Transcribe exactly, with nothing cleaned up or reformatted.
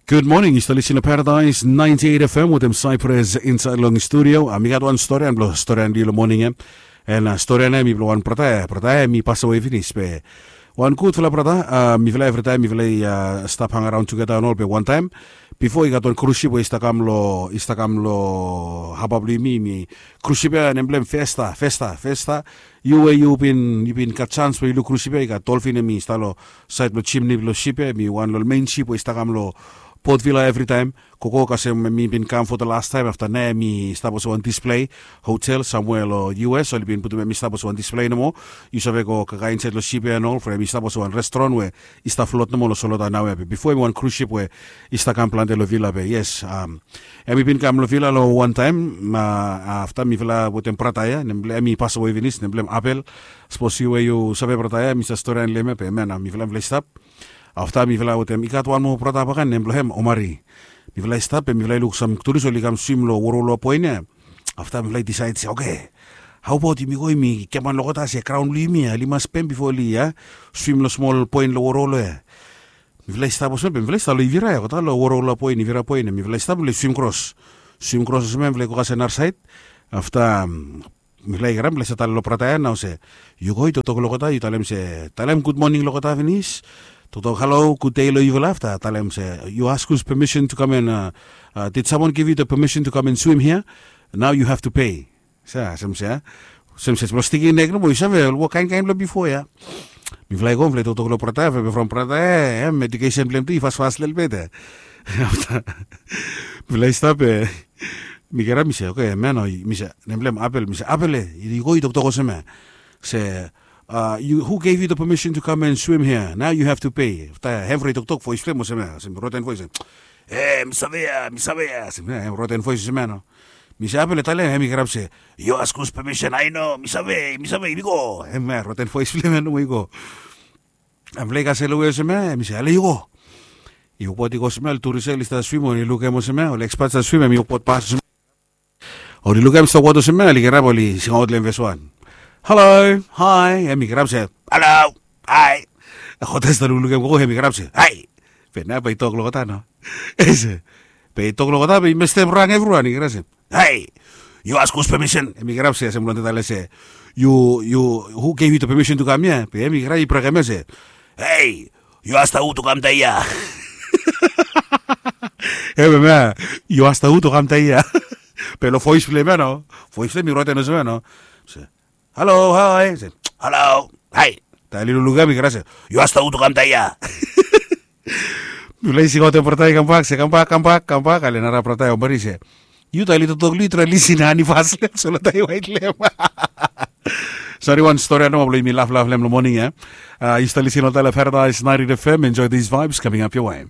Gud moning, yu stap lisin long Paradise ninety eight F M wetem Cyprus insaed long studio. Mi gat wan storian blong storian long yu long moning ya. And storian ya mi blong wan brata ya, brata ya mi pasawe finis be wan gudfala brata. Mifala evritaem mifala i stap hangaraon tugeta and ol be wantaem bifo i gat wan krusip we i stap kam long i stap kam long haba blong yumi. Mi krusip ya nem blong hem Festa, Festa, Festa. Yu we yu bin yu bin gat sans we yu luk krusip ya i gat dolfin hem i stap long saed blong jimni blong sip ya, hem i wan long ol mein sip we i stap kam long Port Vila evritaem. Gogo kasem hem i bin kam fo de lastaem afta nao hem i stap olsem wan displei hotel samwea long U S. Oli bin putum hem i stap olsem wan displei nomo. Yu save go kakae insaed long sip ya and ol from hem i stap olsem wan restoran we i stap flot nomo long solota naoia be bifo hem i wan krusip we i stap kam plante long vila be yes. Hem i bin kam long vila long wantaem. Afta mifala wetem brata ya nem blong hem i pasawe finis nem blong hem Abel. Sapos yu we yu save brata ya mi save storian long hem ya be hem ya nao mifala mifala i stap. Afta mifala wetem i gat wan moa brata baka nem blong hem Omari. Mifala i stap be mifala i luk sam turis oli kam swim long woro long poen ya. Afta mifala i disaed se oke, hau abaot yumi go yumi giaman long olgeta se graon blong yumi ya oli mas pem bifo oli ya swim long smol poen long woro long ya. Mifala i stap olsem ya be mifala i stap long ivira ya olgeta long woro long poen ivira poen ya mifala i stap mifala i swim kros. Swim kros olsem ya mifala i go kasem narasaed. Afta mifala i kirap mifala i save talem long brata ya nao se yu go yu toktok long olgeta yu talem se talem gud moning long olgeta finis. Toktok halo gud dei long yufala afta talem se yu askus pemisin tu kam and did samwan giv yu da pemisin tu kam and swim hia? Nao yu hav tu pei. Sa sem se a sem se blong stiking nek nomo yu save ol wok kainkain blong bifo ya. Mifala i go mifala i toktok long brata ya from brata ya em edukesen blong em tu i fasfas lelebet ya. Afta mifala i stap ya. Mi kirap mi se oke man o mi se nem blong em Abel mi se Abel e yu go yu toktok olsem ya. Se hu gave yu da pemisin tu kam and swim hia nao yu hav tu pei. Afta hem bro i toktok voes blong em olsem ya olsem roten voes. E mi save ya mi save ya olsem ya hem roten voes olsem ya no. Mi se Abel e talem hem i kirap se yu askus pemisin ai no mi save mi save yumi go hem ya roten voes blong em ya nomo i go. Em blong i kasem long we olsem ya em i se ale yu go. I wokbaot i go olsem ya ol turis ya oli stap swim oli lukim olsem ya ol ekspat stap swim em i wokbaot pas olsem ya. Oli lukim stap wokbaot olsem ya oli kirap oli singaot long em fes wan. Halo, hai em i kirap se halo, hai. Olgeta i stap luklukim gogo em i kirap se hai. Be nao bae i tok long olgeta nao. Be i tok long olgeta be i mestem rang evriwan i kirap se hai. Yu askus pemisin em i kirap se olsem long olgeta talem se yu yu hu gave yu da pemisin tu kam ya be em i kirap i brekem ya se hei, yu asta hu tu kam dae ya. Em em ya, yu asta hu tu kam dae ya. Be long voes blong em ya nao voes blong em i roten olsem ya nao. Halo, hai. Halo, hai. Taem oli luklukim i kirap se yu asta hu tu kam dae ya. Mifala i singaot em brata i kambak se kambak kambak kambak ale nara brata i ombari se yu taem oli toktok long yu trae lisin ani fas long em solo taem i waet long em. Sori wan stori ya nomo blong yumi laflaf long em long moning ya. Yu stap lisin long tale Paradise ninety eight F M enjoy these vibes coming up your way.